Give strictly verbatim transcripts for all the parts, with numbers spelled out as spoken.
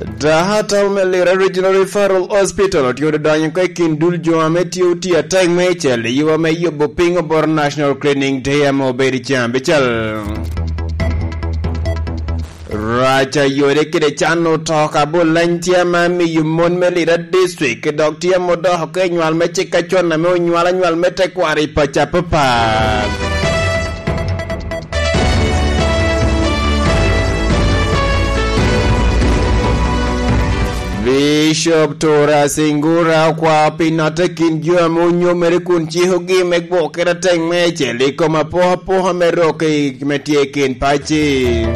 Dahatal me Lira Regional Referral Hospital otye odonyo oko i kin dul jo ame tye otye atek me icel i yo ame yubo piny oboro National Cleaning Day ame obedo i ceng abicel. Rac a yode kede can otoka bolany tye ame miyo mon me Lira District dok tye ame odoko oko i nywal me cik acon ame onywal anywal me tekwaro i paco apapat. Bishop Tora Singura okwao pi notte kin jo ame onyomere kun cikogi me gwokere atek me ecel i kom apokapoka me rok i me tye i kin pacci.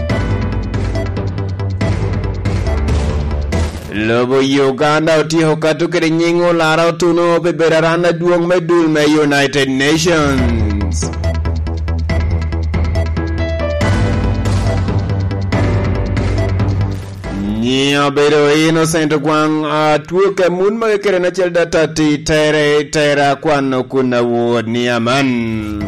Lobo Uganda otyeko kato kede nyiŋ olara otuno pi bedo aran adwoŋ me dul me United Nations. Nyiŋ obedo Innocent Ogwaŋ, atwok a mun magi kede en acel da tatti tere tera kwano kun awot ni aman.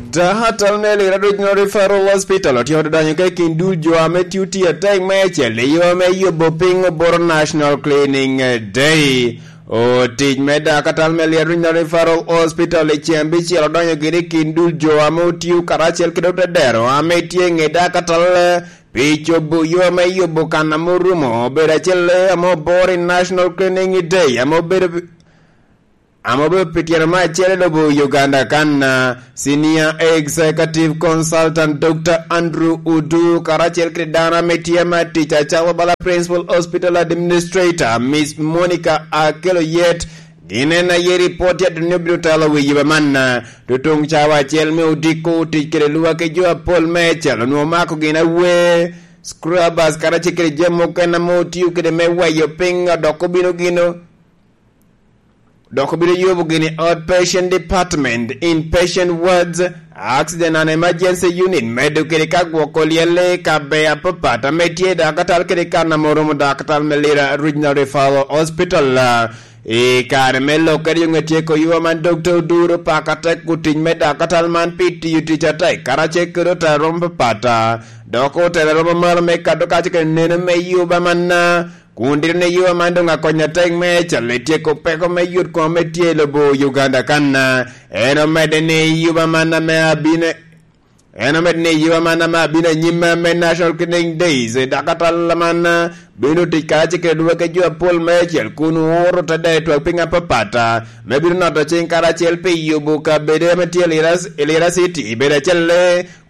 Dahatal me Lira Regional Referral Hospital otye odonyo ka i kin dul jo ame tye otye atek me ecel i yo me yubo piny oboro National Cleaning Day. Otic me dakatal me Lira Regional Referral Hospital i ceng abicel odonyo gire i kin dul jo ame otio karacel kede otedero ame tye i ŋe dakatal pi cobo yo ame yubo kan ame orumo obedo acel ame oboro i National Cleaning Day ame obedo ame obedo pi tyeno me acel i lobo Uganda kan, ah, Senior Executive Consultant Doctor Andrew Udu karacel kede dano ame tye me tic acalo bala Principal Hospital Administrator Miss Monica Akelo Yet, gin en aye ripot ya duni obino telo wi yiba man, ah, tutuŋ cawa acel me odiko otic kede lwak i jo apol me ecel onwoŋo mako gin awe, scrubbers karacel kede jami mukene ame otio kede me weyo piny dok obino gino dok obino yubo gini outpatient department, inpatient wards, accident and emergency unit, medo kede ka gwoko lyelle ka ber apapat ame tye i dakatal kede kan ame oromo dakatal me Lira Regional Referral Hospital. I kare me lok kede yo ŋe tyeko ywa man Doctor Oduro paka tek otic me dakatal man pi tiyo tic atek karacel kede otero romo papat, dok otero romo malo me kato kaco kede neno me yuba manna. Kun dito ni yo man doŋ akonyo atek me cal i tyeko peko me yot koŋ ame tye i lobo Uganda kan, en omedde ni yuba man ame abino, en omedde ni yuba man ame abino anyim me National Cleaning Days, dakatal man bino tic karacel kede lwak i jo apol me acel kun ooro te dero twak piny apapat, me bino noto cing karacel pi yubo kabedo ame tye i Lira, i Lira City, bedo acel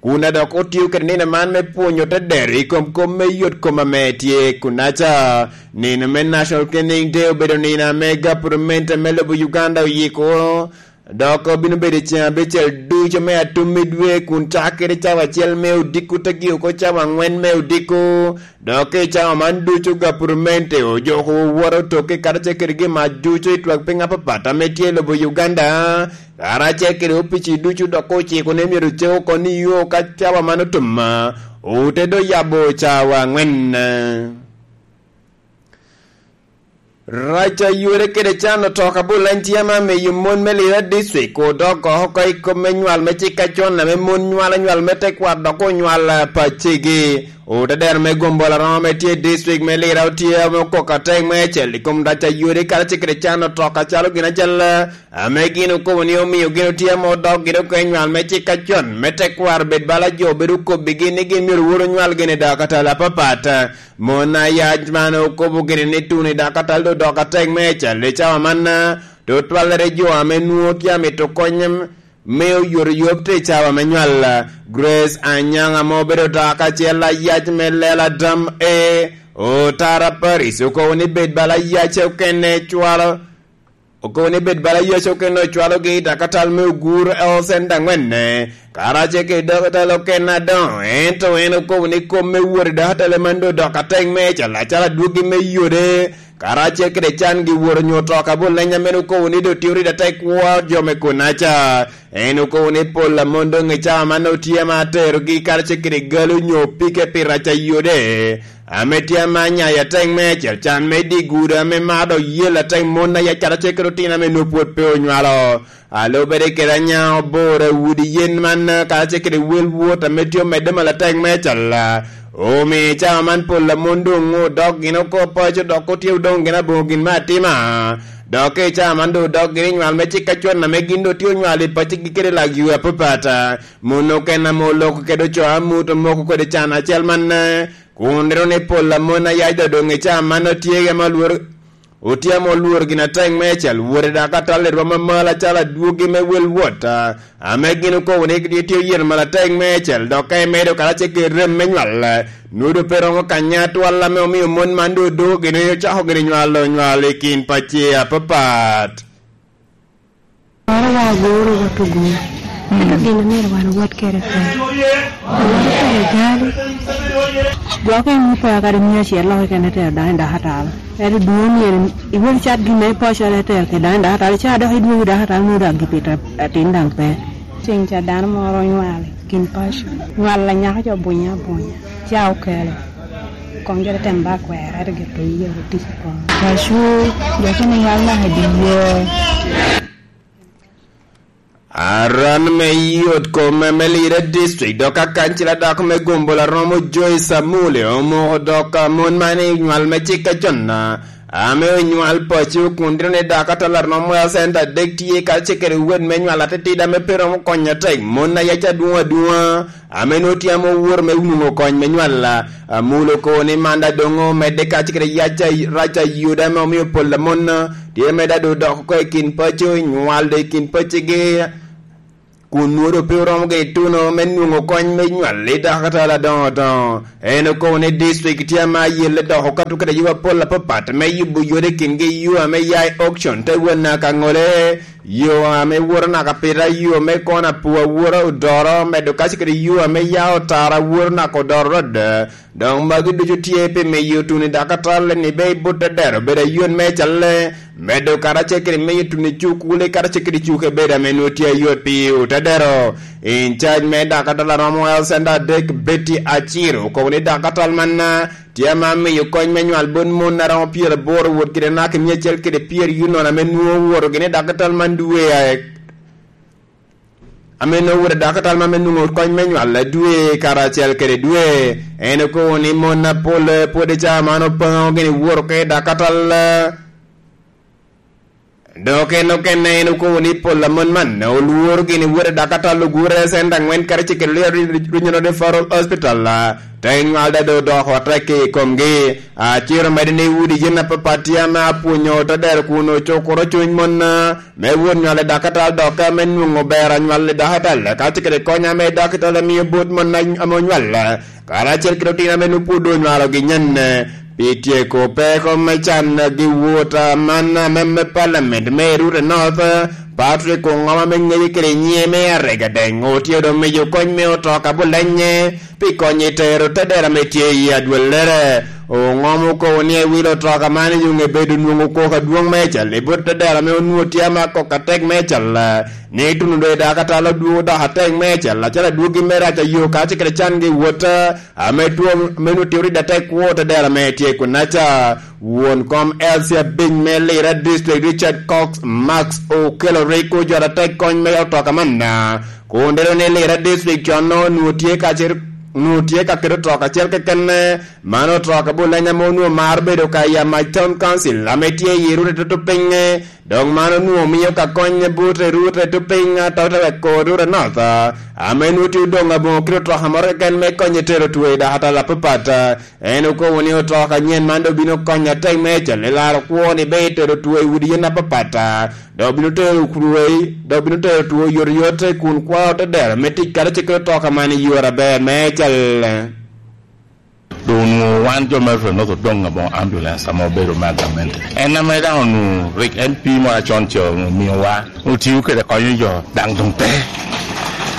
kun a dok otio kede nino man me pwonyo te dero i kom kop me yot kom ame tye kunaca. Nino me National Cleaning Day obedo nino ame gapurment me lobo Uganda oyiko, dok obino bedo i ceng abicel ducu me atum me dwe kun cakere cawa acel me odiko te gio oko cawa angwen me odiko. Dok i cawa man ducu gapurment ojoko woworo toke karacel kede gin mac ducu i twak piny apapat ame tye i lobo Uganda. Karacel kede opici ducu dok ociko ni myero cek oko ni yo ka cawa man otum, ote do yabo cawa angwen. Rac a yore kede can otoka bolany tye ame amiyo mon me Lira District odok oko i kom me nywal me cik acon ame mon nywalo nywal me tekwaro dok onywal pacegi. Otedero me gombola romo ame tye i district me Lira otye ame okoko atek me acel i kom rac a yore karacel kede can otoka calo gin acel ame gin okobo ni omio gin otye ame odok gin oko i nywal me cik acon me tekwaro bed bala jo bedo okobbigi ni gin myero woro nywal gin i dakatal apapat. Mon ayac man okobo gini ni tuni dakatal do dok atek me cal i cawa man, tutwalere jo ame nwoŋo tye amito kony me oyotoyot i cawa me nywal. Grace Anyang ame obedo dok acel ayac me lela dam e Otara Paris okobo ni bed bala ayac okene cwalo Okobo ni bed bala Yecu okene ocwalogi i dakatal me ogur L C N daŋwenne, karacel kede dakatal okene adoŋo, ento en okobo ni kop me wot i dakatal man doŋ odoko atek me cal acalo adwogi me yode, karacel kede can gi woro nyo otoka bolenya meno okobo ni doŋ tye oride atek kwo jo me kunaca. En okobo ni pol amon doŋ i cawa man otye ma aterogi karacel kede galo nyo pike pi rac a yode. Ame tye ame anyayo atek me acel can me dye gudo ame mar dok yel atek mon a yac karacel kede otino ame nwoŋo pwod pe onywalo. Alubere kede anya oboro udi yen man karacel kede wel wot ame tye omedde malo atek me acel. Omio i cawa man pol a mon doŋ odok gin oko paco, dok otye odoŋ gin aboŋo gin me atima. Dok i cawa man doŋ odok gin i nywal me cik acon ame gin doŋ tye onywalo i pacigi kede lak yo apapat. Mon okene ame oloko kede ocoo amut omoko kede can acel man, kun rino ni pol a mon ayac doŋ i cawa man otye ame olworo Otye ame olworo gin atek meicel, wot i dakatal i rwom amal acalo adwogi me wel wot, a, ame gin okobo ni gitye oyeto mal atek meicel, dok ka imedo karacel kede rem me nywal, nwodo pe romo kanya atwal ame omio mon man doŋ odoko gin ocako gin nywalo nywal i kin pacci apapat. Moro wa agoro wa tugo. Ento gin a myero wan owot kede pe. Moro kede gali. Gwok en ni pe akadi mia acel loko kene tero dano i dakatal. Ento dwon myero iwot icat gin ma ipocere tero kede dano i dakatal. Ica dok idwogo i dakatal nwodo agipito atin daŋ pe. Ceng ca dano moro onywalo i kin paco. Nywalo anyaka ca obunye abunya. Ca okelo. Koŋ gire tem ba kwero, ento gire to yie ru tic i koŋ. Paco, jo kene yal naka i dye yo. Aran me yot kome me Lira District, dok akancila dako me Gombola romo Joyce Amule, omoko dok mon man i nywal me cik acon, ame onywal paco kun dino ni dako atala romo a centa adek tye kacel kede wed me nywal atitida ame pe romo konyo atek, mon ayac adwoŋ adwoŋa, ame nwoŋo tye ame oworo me nwoŋo kony me nywal. Amule okobo ni man daŋ doŋ omedde kacel kede yac a, rac a Yuda ame omio pol a mon tye medde a doŋ dok oko i kin paco, i nywal doŋ i kin pacigi, kun nwoŋo doŋ pe oromo gin ituno me nwoŋo kony me nywal i dakatal adoŋo adoŋo. En okobo ni district tye ame ayelle dok okato kede yo apol apapat me yubo yot i kingi, yo ame ya i auction te won naka ŋole, yo ame woto naka pita, yo me kona pur awora odoro, medo kaco kede yo ame ya otara woto naka odoro rwod. Doŋ magi ducu tye pi miyo tuno i dakatal ni be i but tedero bedo ayot me calle, medo karacel kede miyo tuno i cukule karacel kede cuke bedo ame nwoŋo tye ayot pi otedero. In charge me dakatal a romo Health Center adek, Betty Aciro, okobo ni dakatal man tye ame amiyo kony me nywal bot mon a romo pyeraboro wot kede naka i mia acel kede pyeraryo nono ame nwoŋo owoto gini i dakatal man dwe a, ame nwoŋo owoto i dakatal man me nwoŋo kony me nywal dwe karacel kede dwe. En okobo ni mon apol pwod i cawa man opaŋo gini woto oko i dakatal. Dok en okene en okobo ni pol a mon man olworo gini wot i dakatal ogure centa angwen karacel kede Regional Referral Hospital, te nywal daŋ doŋ odoko atek i komgi. Aciro medo ni udi yen apapat tye ame apwonyo otedero kun ocukuro cuny mon me wot nywal i dakatal, dok ame nwoŋo ber anywal i dakatal, kacel kede kony ame dakatal mio bot mon ame onywal, karacel kede otino ame nwoŋo pwod onywalogi nyen. Pi tyeko peko me can gi wot man ame me Parliament me Rute North, Patrick Ongoma me ŋeye kede nyiŋe me Aregadeng otye doŋ miyo kony me otoka bulenye pi konyo i tero tedera ame tye i adwellere. Ongoma okobo ni ewilo otoka man i yuŋ ebedo nwoŋo koko adwoŋ meicel i bot tedera ame onwoŋo tye ama koko atek meicel, ni tuno doŋ i dakatal odwogo dok atek meicel, acalo adwogi me rac ayo kacel kede can gi wot, ame two, ame nwoŋo tye oride atek kwo tedera ame tye kunaca. Won kom L C abiny me Lira District, Richard Cox Max, okelo rik ojot atek kony me otoka manna. Kun dero ni Lira District con nwoŋo tye ka cer-, nwoŋo tye ka keto otoka acel keken, mano otoka bulenya ame onwoŋo maro bedo ka i Amac Town Council, ame tye i Rute Tutupiŋe. Dok man onwoŋo mio ka kony but i Rute Tupiŋe, atotela kor Rute North, ame nwoŋo tye odoŋ aboŋo kit otoka moro keken me konyo i tero two i dakatal apapat. En okobo ni otoka anyen man doŋ bino konyo atek me cal i laro kwo ni be itero two i udi yen apapat, dok bino tero two, dok bino tero two oyotoyot kun kwao te dero me tic karacel kede otoka man i yore aber me cal. Doŋ onwoŋo wan jo me Rute North odoŋ aboŋo ambulance ame obedo me agamente. En ame daŋ onwoŋo rik M P moro acon ca omiowa, otio kede konyo jo, daŋ doŋ pe.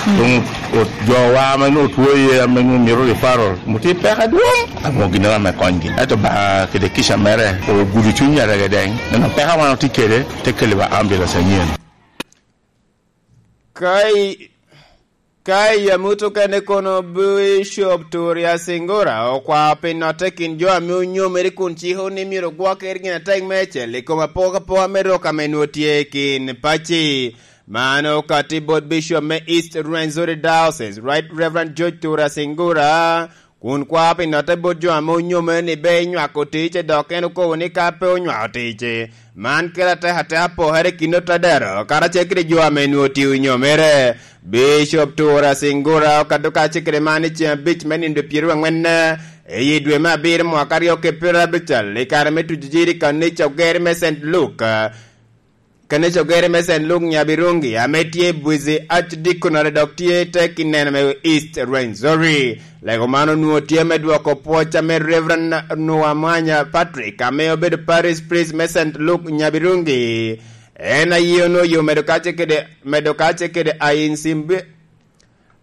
Doŋ o-, jowa ame nwoŋo two iye ame nwoŋo mito referral, otye peko adwoŋ, aboŋo ginnoro ame konygi. Ento Obaŋa kede kica mere ogudo cuny Aregadeng, neno peko wan otye kede, te keliwa ambulance anyen. Ka i, ka i amut okene kono, Bishop Turia Singora okwao pi notte kin jo ame onyomere kun ciko ni myero ogwokke gin atek meicel i kom apokapoka me rok ame nwoŋo tye i kin pacci. Man okatti bot Bishop me East Rwenzori Diocese, Right Reverend George Tura Singura, kun kwao pi notte bot jo ame onyome ni ber nywako tic, dok en okobo ni ka pe onywako tic, man kelo atekateka pokere i kin otadero karacel kede jo ame nwoŋo tye onyomere. Bishop Tura Singura okato kacel kede man i ceng abic me nino pyeraryo angwen, eh, i dwe me abiro mwaka aryo ki pyeraryo abicel, i kare me tuco jiri i kanica oger me Saint Luke, eh, kanica oger me Saint Luke Nyabirungi, ame tye i Bwizi Archdeaconry dok tye i te kinene me East Rwenzori. Lego man onwoŋo tye me dwoko pwoc ame Reverend Nuwamwanya Patrick, ame obedo Parish Priest me Saint Luke Nyabirungi. En aye onwoŋo yo medo kacce kede, medo kacce kede Ainsimbi-,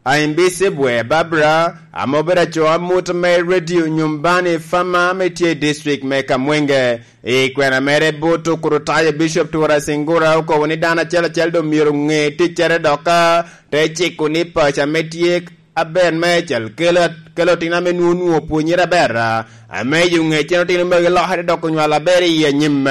Aimbisibwe Barbara, ame obedo aco amut me Radio Nyumbani Fama ame tye i district me Kamwenge. I kwena mere bot Okurutayo, Bishop Tura Singura okobo ni dano acel acel doŋ myero ŋe ticcere dok ka te ciko ni paco ame tye aber meicel kelo, kelo otino ame nwoŋo, nwoŋo pwonyere aber, ame yo ŋecen otino magi lokere dok onywalo aber i anyim.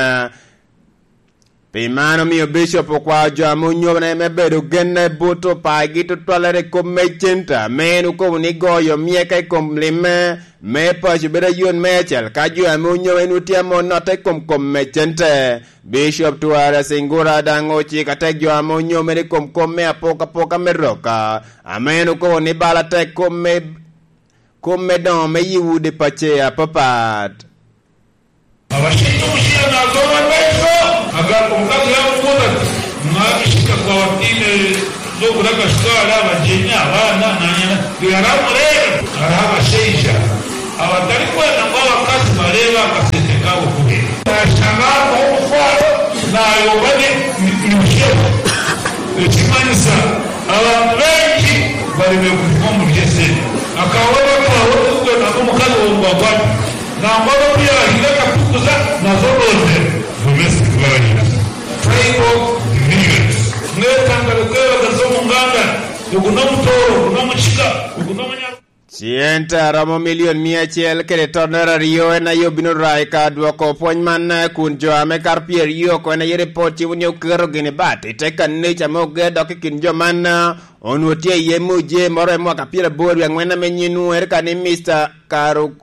Pi man omio Bishop okwao jo ame onyobone me bedo genne bot opagi tutwalere i kop me centa, ame en okobo ni goyo myeka i kom limme me paco bedo ayot meicel ka jo ame onyobe nwoŋo tye ame onotte i kom kom me cente. Bishop Twara Singura daŋ ociko atek jo ame onyomere i kom kop me apokapoka me rok, ame en okobo ni bala tek kop me, kop me doŋo me yi udi paco apapat. Abashinga omushiira n'agoma baiso, agambo omukazi yamukunda ati, "Mwami shika kwa watine z'okulaka sukali abajenya abaana nanyana." Yaramu rero, araba sheija. Abatali kwenda ngo abakazi bareba akasente kabo kubiri. Nashangaa kwa omufwalo, nayoba ni, ni, ni mushefu. Ekimanyisa, abantu bengi bali bekufa mu lyese. Akawa bakawa okuga nako mukazi wo mubagwati. Nangolo pia hila katukuza nazo doze. Domestic violence. Tribal divisions. Netanga lukela gazo munganda. Okuno mutoro, okuno muchika, okuno munyalo. Cente a romo milion mia acel kede tonnere aryo en aye obino ra i ka dwoko pwony man, kun jo ame kato pyeraryo oko en aye ripot cibo ni oketo gini bat i te kanica ame oger dok i kin jo man, onwoŋo tye iye muje moro i mwaka pyeraboro wie angwen ame nyiŋ nwoŋere ka ni Mister Karu-,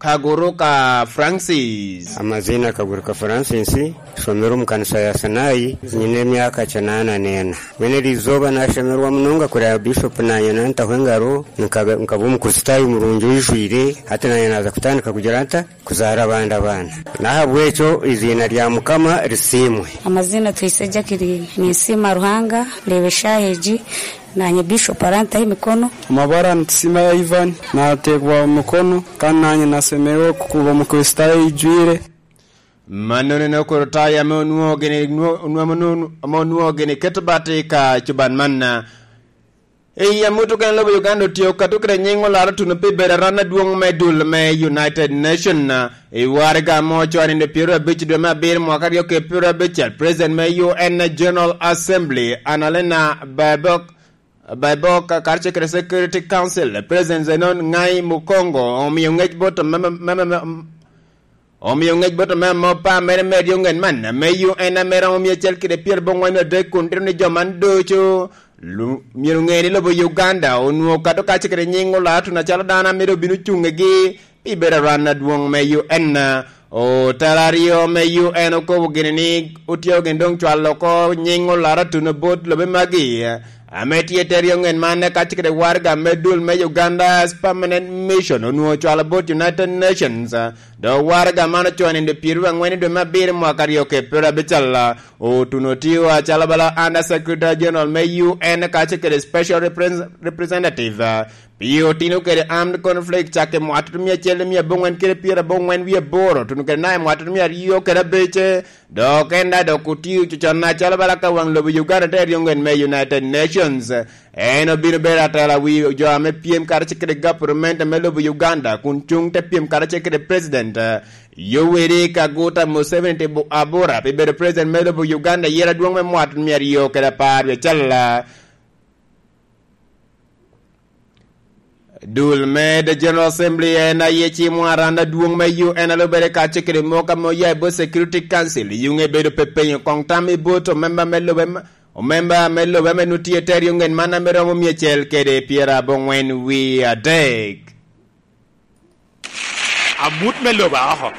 Kaguruka Francis. Amazina Kaguruka Francis, somero mu kanisa ya Sinai, nyine myaka canana nena. Wene lizoba nasomerwa munonga kuri ya Bishop nanye nanta hwengaro, nkaba, nkaba Omukristayo murungi ojwire, ate nanye naza kutandika kugira nta, kuzara abandi abaana. Nahabwa ekyo, izina lya Mukama lisimwe. Amazina Twise Jacqueline, ninsiima Ruhanga, ndebe shaheji, nanye Bishop aranta emikono. Amabara nsiima ya Ivan, nategwa omukono, kan nanye nasemewo kukuba Omukristayo ijwire. Mano nene Okurutayo ame onwoŋo gini, nwo-, onwoŋo, ame onwoŋo gini keto bat i ka cuban man. I amut okene lobo Uganda otio kato kede nyiŋ olaro tuno pi bedo aran adwoŋ me dul me United Nation, i waraga ame ocoo nino pyeraryo abic dwe me abiro mwaka aryo ki pyeraryo abicel, President me U N General Assembly, Annalena Baerbock, Baerbock, karacel kede Security Council, President Zenon Ngai Mukongo, omio ŋec bot me, me, me, me, omio ŋec bot me amo pa mere me ryo ŋen man, me U N ame romo mia acel kede pyerabongwen adek kun tito ni jo man ducu lu-, myero ŋe ni lobo Uganda onwoŋo kato kacel kede nyiŋ olaro tuno acalo dano ame doŋ bino cuŋegi pi bedo aran adwoŋ me U N. Otela aryo me U N okobo gini ni otye gin doŋ cwalo oko nyiŋ olaro tuno bot lobe magi, ame tye i te ryo ŋen man, kacel kede waraga me dul me Uganda's Permanent Mission onwoŋo cwalo bot United Nations. Dok waraga man ocoo nino pyeraryo angwen i dwe me abiro mwaka aryo ki pyeraryo abicel. Otuno tio acalo bala Under Secretary General me U N kacel kede Special Repres-, Representative, pi otino kede armed conflict cakke mwaka tutumia acel mia abongwen kede pyerabongwen wie aboro, tuno kede nai mwaka tutumia aryo kede abece, dok en daŋ dok otio cocon acalo bala ka waŋ lobo Uganda te ryo ŋen me United Nations. En obino bedo atela wi jo ame pyem karacel kede gapurumenta me lobo Uganda, kun cuŋ te pyem karacel kede President Yoweri Kaguta Museveni te bu-, abura pi bedo President me lobo Uganda, yera adwoŋ me mwaka tutumia aryo kede apar wie acel. Dul me The General Assembly en aye cimo aran adwoŋ me U N a lubere kacel kede moko ame oya i bot Security Council, yuŋe bedo pe penyo koŋ tam i bot omemba me lobe ma, omemba me lobe ame nwoŋo tye i te ryo ŋen man ame romo mia acel kede pyerabongwen wie adek. Amut me lobo aoko.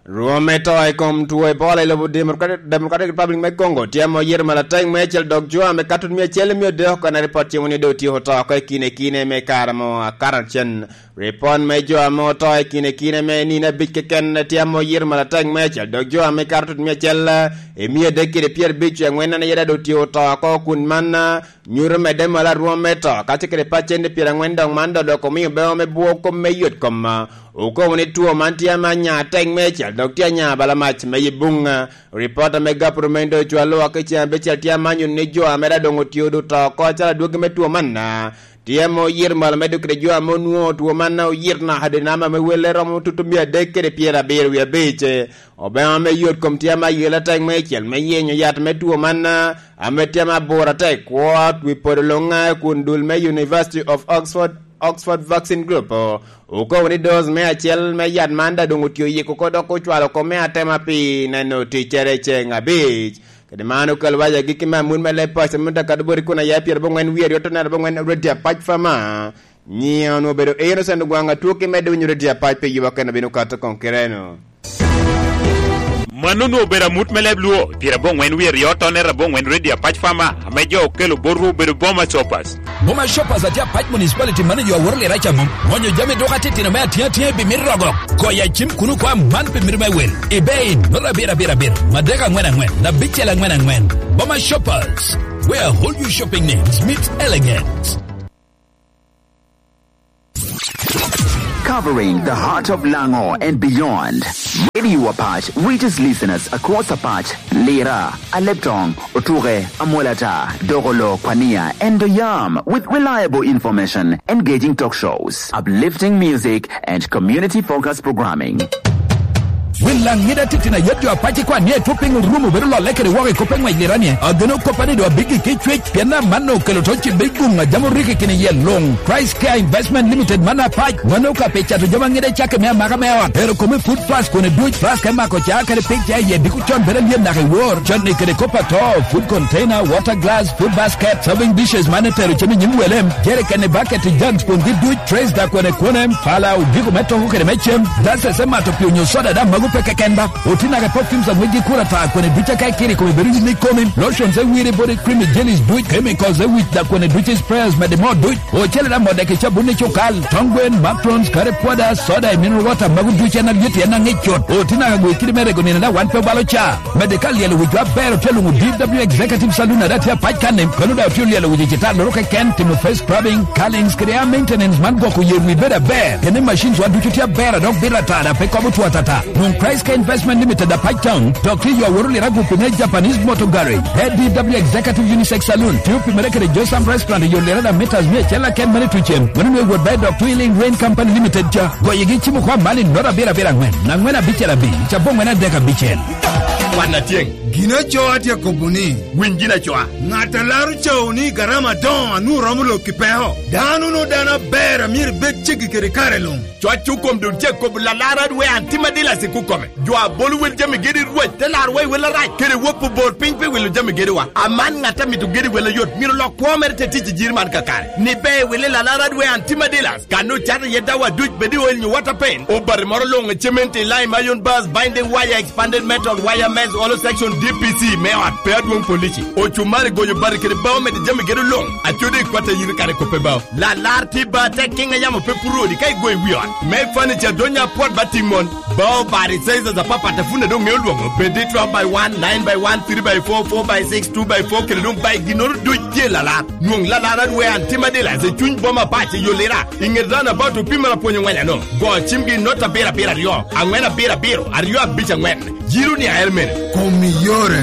Rwom me to i kom two Ebola i lobo Democratic, Democratic Republic me Congo tye ame oyito malatek me acel dok jo ame kato mia acel i mia odek oko, en ripot cimo ni doŋ otyeko to oko i kine kine me kare mo akato acen. Ripot me jo ame oto i kine kine me nino abic keken tye ame oyito malatek me acel dok jo ame kato mia acel i mia adek kede pyerabic wie angwen en aye doŋ otyeko to oko kun man nyuto medde malo arwom me to, kacel kede pacent pyerangwen dok man doŋ dok omio beo me bwo kop me yot kom. Okobo ni two man tye ame anya atek meicel dok tye anya bala mac me yi buŋ. Ripot ame gapuro me Indo ocwalo oko i ceŋ abicel tye ame anyuto ni jo ame daŋ doŋ otye odo to oko acalo adwogi me two man, tye ame oyito malo me dok kede jo ame onwoŋo two man oyito naka dwe namba me welle romo tutu mia adek kede pyerabiro wie abic. Obeŋo ame yot kom tye ame ayela atek meicel me yenyo yat me two man, ame tye ame abura atek kwo wi podo luŋ kun dul me University of Oxford, Oxford Vaccine Group, okobo ni dose me acel me yat man daŋ doŋ otye oyiko oko dok ocwalo oko me atema pi neno ticcere i ceŋ abic. Kede man okelo wac agikki me amut me leb paco me Dakar boti kun aye pyerabongwen wie aryo otone aryo abongwen Radio Apac Fama. Nyiŋe onwoŋo obedo Innocent Ogwaŋ Atwok, imedde winyo Radio Apac pi yuba kene obino kato koŋ kite-nu. Mano onwoŋo obedo amut me leb Luo, pyerabongwen wie aryo otone aryo abongwen Radio Apac Fama, ame jo okelo botwu obedo Boma Shoppers. Boma Shoppers atye Apac Municipality, mano jo aworo lira ca mom. Mwonyo jami dok atitino me atiŋ atiŋ i bimit rogo. Goyo acim kuno kwa man pi mito me wel. I bei, nota abiro abiro abiro, madek angwen angwen, abicel angwen angwen. Boma Shoppers, where all your shopping needs meet elegance. Covering the heart of Lango and beyond, Radio Apac reaches listeners across Apac, Lira, Aleptong, Otuke, Amolata, Dogolo, Kwania, and Oyam with reliable information, engaging talk shows, uplifting music, and community-focused programming. Wil Laŋ ŋida titino ayet jo Apac ikwan ni etwo piny orumo bedo lolle kede woko i kop eŋwec liranie. Ageno koppa ni doŋ abiggi ki cwec, pien amanno okelo to cibbe i guŋ a jam orikki kine iye luŋ. Price Care Investment Limited man Apac, mano ka pe cato jami aŋida cakke me amaka me ot, tero kome i Food Plus kun educ Plus ka imako ca kede pig ca iye diko con bedo alyet naka i wor. Con ni kede kop ato, food container, water glass, food basket, serving dishes man etero cem i nyim wele, jerrycan i bucket i jans kun giduc, trays da kwene kwene, pala, odiko me toko kede me cem, gases me mato pii onyo soda daŋ mago pe keken ba. Oti naka i perfumes a ŋwecgi kuro ata kwene duc aka ikiri kome bedo yin ikomi, lotions e wiri body cream i jellies duc, chemicals e wic da kwene duc i sprayers mede mo duc, ocele daŋ modek i cabun i cukal, tong gwen, macarons, curry powder, soda i mineral water mago duc en alyet en aŋic cut. Oti naka gwe kidi me rego nino daŋ wan pe obalo ca. Medde ka lyelo wicwa aber otye luŋo D W Executive Saloon a daŋ tye Apac kan-ni, kono daŋ otye olyelo wic i citalloro keken, timo face scrubbing, curlings kede hair maintenance man gwoko yer wi bedo aber. Kene machines wa ducu tye aber a dok bito ata daŋ pe kobo two atata. Nwoŋ Christ Care Investment Limited Apac Town, dok tye yo aworo lira gupi me Japanese Motor Garage. A D W Executive Unisex Saloon, tye opimere kede Josam Restaurant i yo lira daŋ meters mia acel aken mane tucen. Mano nwe wot baŋ i dok Twilling Rain Company Limited ca. Goyegi cimo kwa mali nota abiro abiro angwen, angwen abicel abic, cabongwen adek abicel. Kwan atyeŋ. Gin acoa tye akobo ni, winy gin acoa. Ŋat a laro cawu ni garama adoŋo a nwoŋo romo lok i peko. Dano no dano aber a myero ibed ceggi kede kare luŋ. Cwac okom doŋ tye kobo lalar adwe an tim adila sik okome. Jo a bolo wel jami gedi rwec te laro wa i wel arac, kede wok obor piny pe wilo jami gediwa. Aman ŋat a mito gedi wel ayot, myero lok kwo mere te tic i jiri man kakare. Ni be wili lalar adwe an tim adila. Kan ocato iye dawa duc bed i oil nyo water paint. Obati moro luŋ i cement i lime iron bars, binding wire, expanded metal, wire mesh, hollow section, D P C, me ot, pe adwoŋ polisi. Ocumari goyo bati kede bao mede jami gedo luŋ. Acodi i kwat a yiri kare kope bao. Lalar tye ba tek kiŋ a yamo pe puro odi ka igoyo i wi ot. Me furniture donya pwot ba tiŋ mon. Bao bati sizes apapat a pun a doŋ ŋeo lwoŋo. Bed i twelve by one, nine by one, three by four, four by six, two by four, kede doŋ by ginnoro duc tye lalar. Nwoŋ lalar adwe an tim adila i cuny boma Apac i yo lira. I ŋet roundabout opimere apwony angwen ano. Go cimgi i nota abiro abiro aryo, angwen abiro abiro, aryo abic angwen. Jiro ni aer mene. Kom iyore.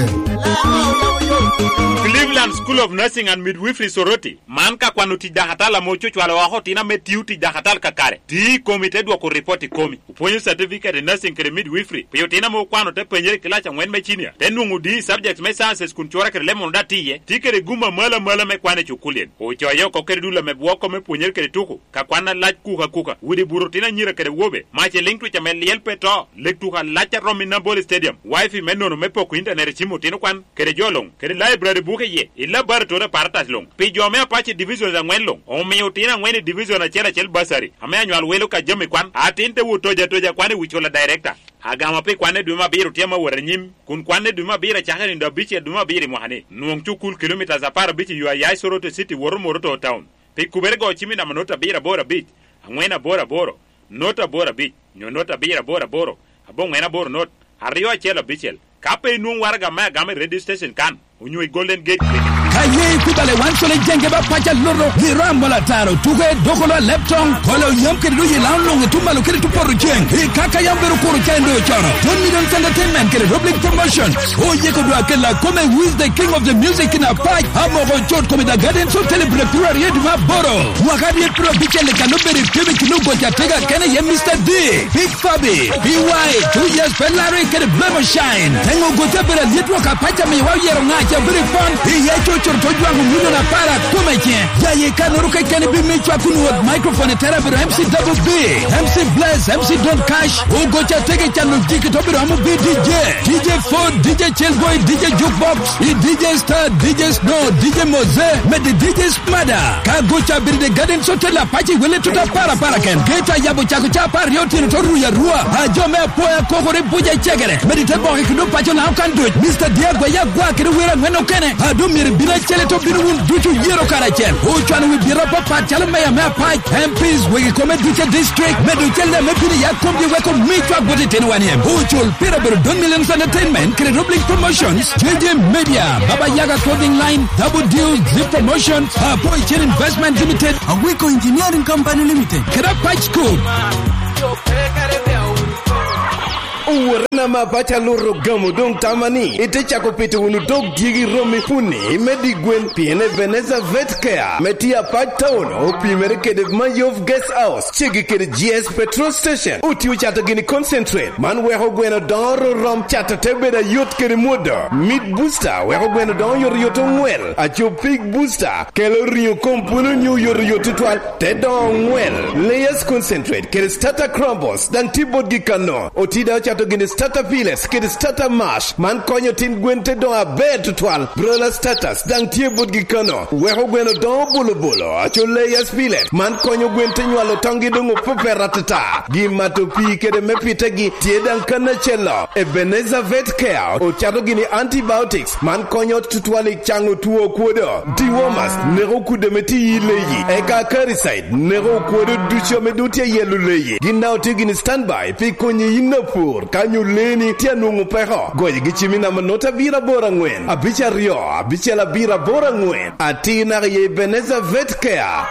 Cleveland School of Nursing and Midwifery Soroti. Man ka kwano tic dakatal ame ococwalo oko otino ame tio tic dakatal kakare. Ti i komi te dwoko ripot i komi. Opwonyo certificate i nursing kede midwifery. Pi otino ame okwano te penyere i kilac angwen me cinia. Te nwoŋo D i subjects me sciences kun cura kede lemon oda tiye. Ti kede gum amalo amalo me kwan i cukulien. Ocoye oko kede dul ame bwoko me pwonyere kede tuko. Ka kwan alac kuka kuka, widi buto otino anyira kede awobe, mac i liŋ twic ame lyel pe to, lek tuko alac a rom i Nambole Stadium, wifi me nono me poko intanet i cim otino kede jo luŋ, kede library buke iye, i laboratory apparatus luŋ. Pi jo me Apache divisions aŋwen luŋ, omio otino aŋwen i division acel acel bursary, ame anywal welo ka jami kwan, atin te wot toja toja kwan i wi cula director. Agamo pi kwanne dwe me abiro tye ame awot anyim, kun kwanne dwe me abiro acakere nino abicel dwe me abiro i mwaka-ni. Nwoŋ cukul kilomitas apar abic i yo a ya i Soroti City woto Moroto Town. Pi kubere go cim i namba not abiro aboro abic, aŋwen aboro aboro, not aboro abic, nyo not abiro aboro aboro, aboŋwen aboro not, aryo acel abicel. Ka pe inwoŋ waraga me agama i radio station kan, onyo i Golden Gate Clinic. Ka ye ikubale wan cwale jenge ba paca loto, i ram mola taro, tuke, dokolo a leptong, kolo yam kede doji laŋo luŋ i tumalo kede tupoto ceng. I kaka yam bedo kuro cen do cono. Don Millions Entertainment kede Roblic Promotion. Oyeko dwa kela kome with the king of the music in Apac, Amoko Cot Kome the Gardens Hotel i Brecura Rio de Maboro. Mwaka dyet piro abicel i kano bedo i kebe kino goca tega kene ye Mister D. Big Fabi, B Y, Two Years Ferrari kede Blemo Shine. Teŋo gote bedo alyet wok apac amiwa oyero ŋac a bedo i pon. Iye cocoro to jwaŋo milion apar akome ce. Ya ye kanoro kekeni bi mi cwak kun wot microphone i tera bedo M C Double B, M C Bless, M C Don Cash. Ogoca tege cano jiki to bedo amo bi D J. D J Ford, D J Chillboy, D J Jukebox, i D J Star, D J Snow, D J Mose, med D J Mada. Ka goca bedo i Garden Hotel apac i wele tuta para para ken. Geta yabo cako ca apar aryo otyeno to ruya rua. A jo me apoya kokore buja cegere. Medi te boke kendo paco na okan duc. Mister Diagwa ya gwa kede wer angwen okene. A do myero bino acel to bino wun ducu yero karacel. Ocwano wi biro papat calo meya me apac, M Ps, wegi kome duce district. Medo cel me bino ya komgi weko mi cwak bot itino wan iem. Ocul pira bedo Don Millions Entertainment, kede Roblic Promotions, J J Media, Baba Yaga Clothing Line, Double Deal, Zip Promotions, Apo Icen Investment Limited, Awiko Engineering Company Limited, kede Patch Coat. Owote na ma paca luto gamo doŋ tama ni ite cako pito wunu dog dyegi romi puni me di gwen, pien Ebenezer Vet Care me tye apac taun opimere kede Mayov Guest House, cegi kede G S Petrol Station. Otio cato gini concentrate, man weko gweno doŋo rorom, cato te bedo ayot kede mwodo. Meat Booster weko gweno doŋo yot yot oŋwel. Aco Pig Booster kelo riŋo kom pwolo nyo yot yot tutwal, te doŋo oŋwel. Layers Concentrate kede Starter Crumbles daŋ tye botgi kano. Oti daŋ ocato gini Starter Pellets kede Starter Mash, man konyo tin gwen te doŋo aber tutwal. Broiler Starters daŋ tye botgi kano, weko gweno doŋo bolo bolo. Aco Layers Pellet, man konyo gwen te nywalo toŋgi doŋ opepet atata. Gin mato pii kede me pitegi tye daŋ kan acel-lo. Ebenezer Vet Care ocato gini antibiotics, man konyo tutwal i caŋo two okwodo. Dewormers neko kudde me ti i leyi, eka Acaricide neko okwodo ducu ame doŋ tye ayelo leyi. Gin daŋ otye gini standby pi konyi yin apur ka nyo leeni tye anwoŋo peko. Goyogi cim i namba not abiro aboro aŋwen, abic aryo, abicel abiro aboro aŋwen. Atir naka i Ebenezer Vet Care.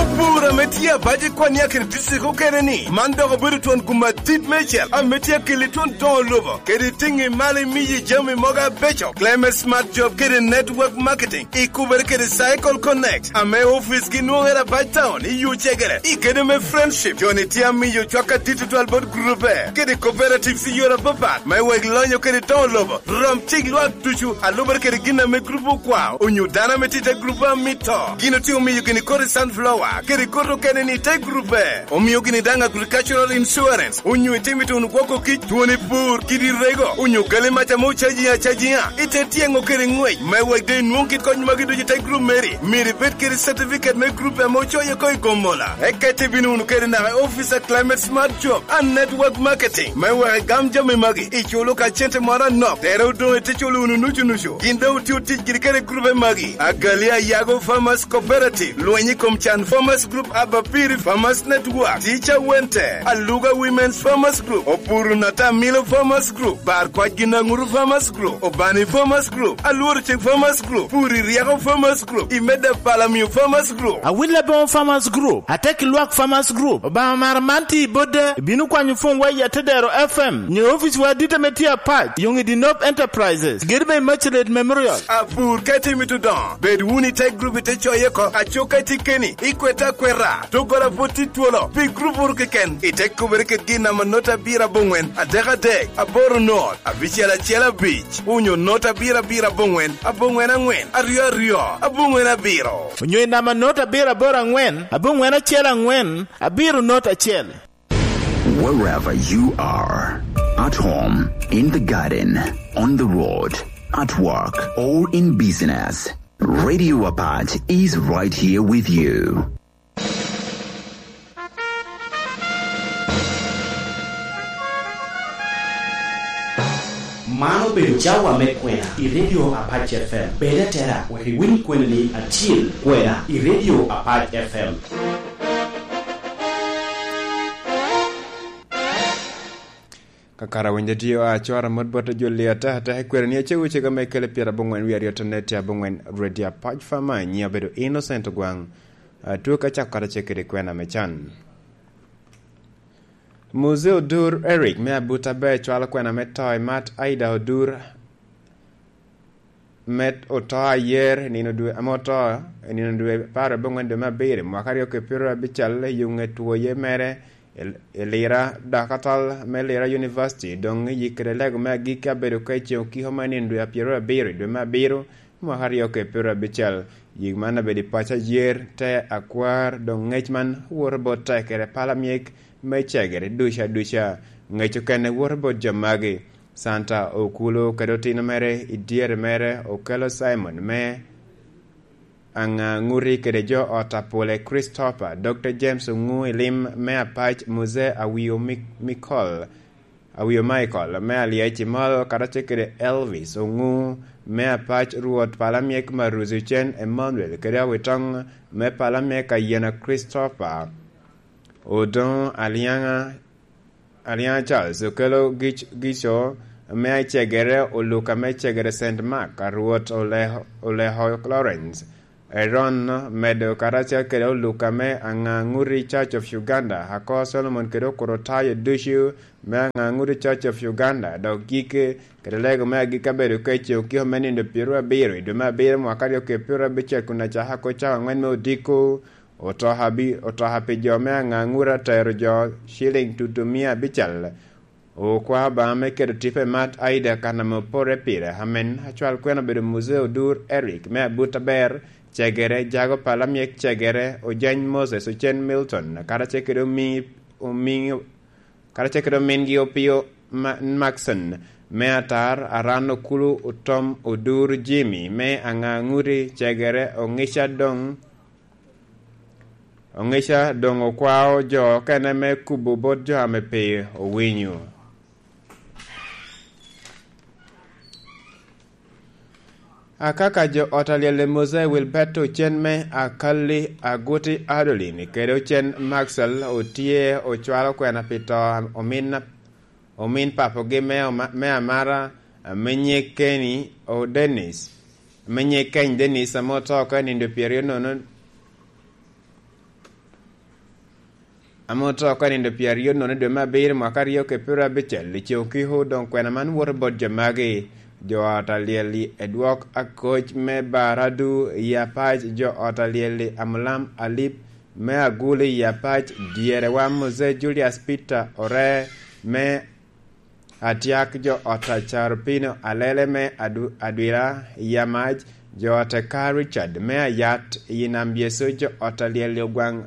Opur ame tye abac i Kwania kede district okene-ni, man dok obedo twon gum adit meicel ame tye akeli twon doŋo lobo kede tiŋi malo imiyi jami mogo abeco. Climate Smart Job kede Network Marketing ikubere kede Cycle Connect, ame oficgi nwoŋere abac taon i yo cegere i gedo me Friendship. Joni tye amiyo cwak adit tutwal bot grupe kede cooperatives i yore apapat me wek lonyo kede doŋo lobo. Rom cik lwak ducu a lubere kede gin ame grup okwao, onyo dano ame tye i te grup a mito. Gin otye omiyo gini kodi sunflower kede kodi okene ni te grupe. Omio gini daŋ agricultural insurance, onyo itimo ituno gwoko kic, twoni pur, kidi rego, onyo gali mac ame ocaji acajiŋa. Ite tyeŋo kede ŋwec me wek de inwoŋ kit kony magi ducu i te grup meri, myero ibed kede certificate me grup ame ocoye ko i Gomola. Eka ite bino wunu kede naka i office a Climate Smart Job and Network Marketing me wek igam jami magi, iculo ka cente moro anok, tere odoŋ ite culo wunu nucu nucu. Gin daŋ otio tic giri kede grupe magi: Agali Ayago Farmers Cooperative, Lweny i Kom Can Farmers Group, Abapiri Farmers Network, Teacher Wente, Aluga Women's Farmers Group, Opuru Natamilo Farmers Group, Bar Kwac Ginaŋuru Farmers Group, Obani Farmers Group, Alworo Cik Farmers Group, Puri Ryeko Farmers Group, Imeda Palamio Farmers Group. Awil Aboŋo Farmers Group, Atek Lwak Farmers Group, Obaŋa Mara man tye i Bodde, ibino kwanyo pwonywa i Atedero F M, nyo oficwa adit ame tye apac, Yongidi North Enterprises, gedo me Immaculate Memorial. Apur ka itimo itudoŋo, bed wunu i te grup ite coye oko, aco ka itye keni, ikwete akweta, doggola pwod tye twolo, pi grup oro keken, ite kubere kede gin namba not abiro aboŋwen, adek adek, aboro not, abicel acel abic, onyo not abiro abiro aboŋwen, aboŋwen aŋwen, aryo aryo, aboŋwen abiro. Onyo i namba not abiro aboro aŋwen, aboŋwen acel aŋwen, abiro not acel. Wherever you are, At home, in the garden, on the road, at work, or in business, Radio Apac is right here with you. Man obedo cawa me kwena i Radio Apac F M. Bed atera wek iwiny kweni acil kwena i Radio Apac F M. Kakara winyo tio a cwara mot bot jo liyo ataka ataka i kwero ni acego cega me kele pyera abongwen wi aryo tone tye abongwen Radio Apac F M, nyiŋa obedo Innocent Ogwaŋ. Atwo ka cako kata cek kede kwena me can. Muzee Odur Eric me Abuta Bay cwalo kwena me to i Mat Aida Odur, me oto ayer i nino dwe, ame oto i nino dwe apar abongwen dwe me abiro, mwaka aryo ki pyero abical, i yo ŋet twoye mere i, i Lira, dakatal me Lira University, doŋ i yikere lego me agikki abedo ka i ceŋ okiko me nino dwe apyero abiro i dwe me abiro, mwaka aryo ki pyero abical. Yik man abedo i paco ayer, te akwar, doŋ ŋec man woto bot tekere pala myek me cegere duca duca. Ŋec okene woto bot jo magi. Santa Okulu kede otino mere i dyere mere, Okelo Simon me Aŋaŋuti kede jo ot a Pule Christopher, Dokta James Oŋu i lim me Apac, Muzee Awio Mik-, Mikol, Awio Michael me Alyec i Molo, karacel kede Elvis Oŋu me Apac, Rwot Palamyek Maruzi Ocen Emmanuel, kede Awitoŋ me Palamyek Ayena Christopher. Odoŋo Alyaŋa, Alyaŋa Charles okelo gic-, gico me acegere, Oluka me cegere Saint Mark, a Rwot Ole-, Oleko Lawrence, Aaron medo karacel kede Oluka me Aŋaŋuti Church of Uganda, Ako Solomon kede Okuro Tayo ducu me Aŋaŋuti Church of Uganda, dok gik kede lego me agikki abedo ka i ceŋ okiko me nino pyero abiro i dwe me abiro mwaka aryo ki pyero abicel kun acaka oko cawa aŋwen me odiko. Otoka bi-, otoka pi jo me Aŋaŋura tero jo ciliŋ tutu mia abical. Okwao Obaŋa me keto tipo i Mat Aida kan ame opore pire. Amen. Acwal kwena obedo Muzee Odur Eric me Abut Aber, cegere, Jago Palamyek cegere, Ojany Moses, Ocen Milton, karacel kede omi-, omi-, karacel kede omingi Opio Ma-, Maxon me Atar, Aran Okulu, Otom Odur Jimmy me Aŋaŋuti cegere, Oŋica doŋ Oŋica doŋ okwao jo okene me kubo bot jo ame pe owinyo. Akaka jo ot alyel i Mose Wilberto Ocen me Akali Aguti Adolin kede Ocen Maxwell otye ocwalo kwena pi to omin, omin papogi me oma-, me amara, ame nying Kenny o Dennis, ame nying Keny Dennis, ame oto oko i nindo pyeraryo nono, ame oto oko i nindo pyeraryo nono dwe me abiro mwaka aryo ki pyero abicel. I ceŋ okiko doŋ kwena man woto bot jo magi. Jo ot alyel i edwok akoc me Baradu i Apac, jo ot alyel i Amulam Alip me Agulu i Apac, dyere wa Mose Julius Peter Ore me Atyak, jo ot a Carupino Alele me Adu-, Adwira i Yamac, jo ot a Ka Richard me Ayat i Nam Yecu, jo ot a Lyel i Ogwaŋ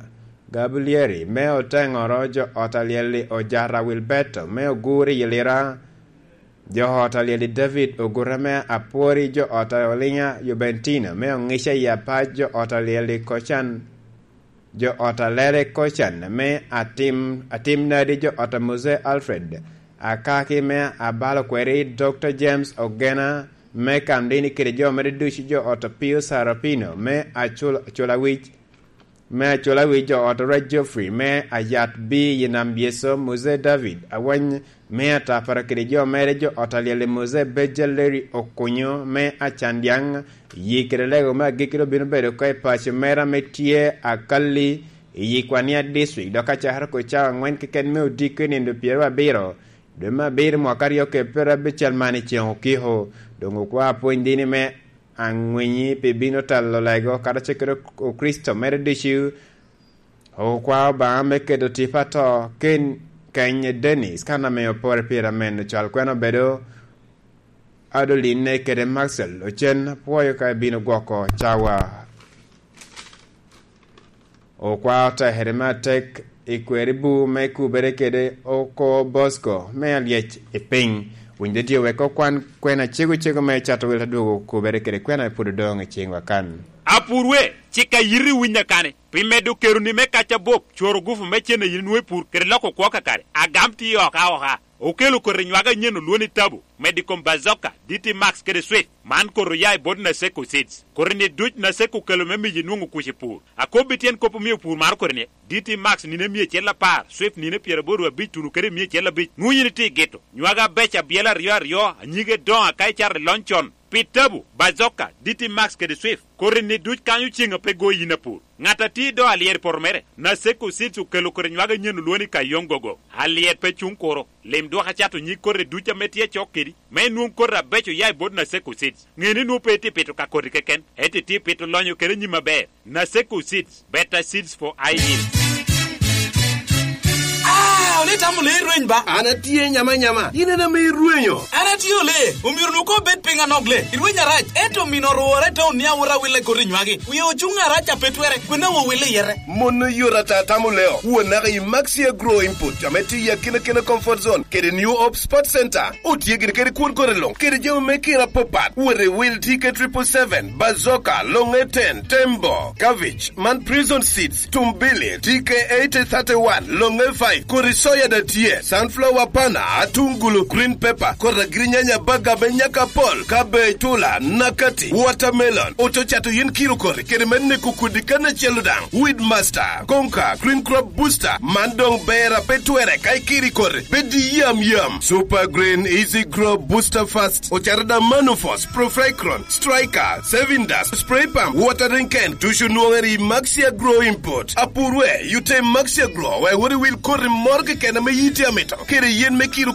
Gabulieri me Oteŋoro, jo ot a Lyel i Ojara Wilberto me Ogur i Lira, jo ot a Lyel i David Ogura me Apwori, jo ot a Oliŋa Jubentino me Oŋica i Apac, jo ot a Lyel i Kocan, jo ot a Lere Kocan me Atim, Atim Nadi, jo ot a Mose Alfred Akaki me Abalo Kweri, Dokta James Ogena me Kamdini kede jo mere ducu, jo ot a Pio Sarapino me Acul-, Aculawic, me Aculawic, jo ot a Rwec Geoffrey me Ayat B i Nam Yeso, Mose David Awany me Atapara kede jo mere, jo ot alyel i Mose Beja Leri Okunyo me Acandyaŋ, yi kede lego me agikki obino bedo oko i paco mera ame tye Akali i Yikwania District, dok acakere oko cawa aŋwen keken me odiko i nindo pyero abiro dwe me abiro mwaka aryo ki pyero abicel man i ceŋ okiko. Doŋ okwa apwony dini me aŋwinyi pi bino talo lego, kadi acakere Okricito mere ducu. Okwao Obaŋa me keto tipo ato ken Keny Dennis, kan ame opore pire amen, ocal kwena obedo Adoline kede Maxwell Ocen, apwoyo ka ibino gwoko cawa. Okwao tekere me atek I kweri bu me kubere kede oko Bosco me alyec i piny, winy de tye wek okwan kwena cego cego me cato wil adwogo kubere kede kwena pud odoŋ i ciŋwa kan. Apur we, cik a yiti winy akane, pi medo keroni me kac abop, coro gufu me cen a yin inwoŋo i pur, kede loko kwo kakare, agam tye oka oka. Okelo koti nywag anyen olwoŋo ni Tabu, medo i kom Bazoka, D T Max kede Swift. Man koti oya i bot Naseko Seeds. Koti-ni duc Naseko okelo me miyo inwoŋo kuc i pur. Akobbi tyen kop omio pur maro koti-ni, D T Max nino emia acel apar, Swift nino pyeraboro abic tuno kede emia acel abic. Nwoŋo yin itye i gito. Nywag abeco abyela aryo aryo, anyige doŋ aka icato i lony con. Pi Tabu, Bazoka, D T Max kede Swift, koti-ni duc kanyo ceŋ a pe goyi yin apur. Ŋat a tye i do alyet i poto mere, Naseko Seeds okelo koti nywag anyen olwoŋo ni Kayong Gogo. Alyet pe cuŋ kuro. Lim dwok acato nyig koti duc ame tye acok kedi, me inwoŋ koti abeco ya i bot Naseko Seeds. Ŋe ni nwoŋo pe itye pito ka koti keken, ento itye pito lonyo kede nyim aber. Naseko Seeds, better seeds for high yield. Ah, ole itamo le irweny ba? An atye nyama nyama, in en ame irwenyo. An atye ole, omyero nwoŋo koŋ obed piny anok le. Irweny arac, ento omino orwore i taun ni awot awille koti nywagi. Wie ocuŋ arac a pe twere, kwena wo wille yete. Mon oyot ata tamo leo, won naka i Maxi Agro Input, ame tye i akina kina comfort zone, kede New Hope Sports Center. Otye gire kede kwon kore luŋ, kede jami me kina apapat. Wot i wil T K triple seven, Bazoka, Longe ten, Tembo, Cabbage, man Prison Seeds, Tumbili, T K eighty thirty-one, Longe five, kodi soya da tye, sunflower pana, atungulu, green pepper, kodi agirinyanya baga me nyaka pol, cabbage, tula, nakati, watermelon, oto cato yen kiro kori, kede me neko kodi kan acel daŋ, Weed Master, Conquer, Green Crop Booster, man doŋ ber a pe twere ka ikiri kore, bed i yam yam. Super Green, Easy Grow, Booster Fast, ocato da Manufos, Profricron, Striker, Saving Dust, Spray Pump, Watering Can, ducu nwoŋere i Maxi Agro Import. Apur we, yute Maxi Agro, wek wot iwil koti moro keken ame yiti amito, kede yen me kiro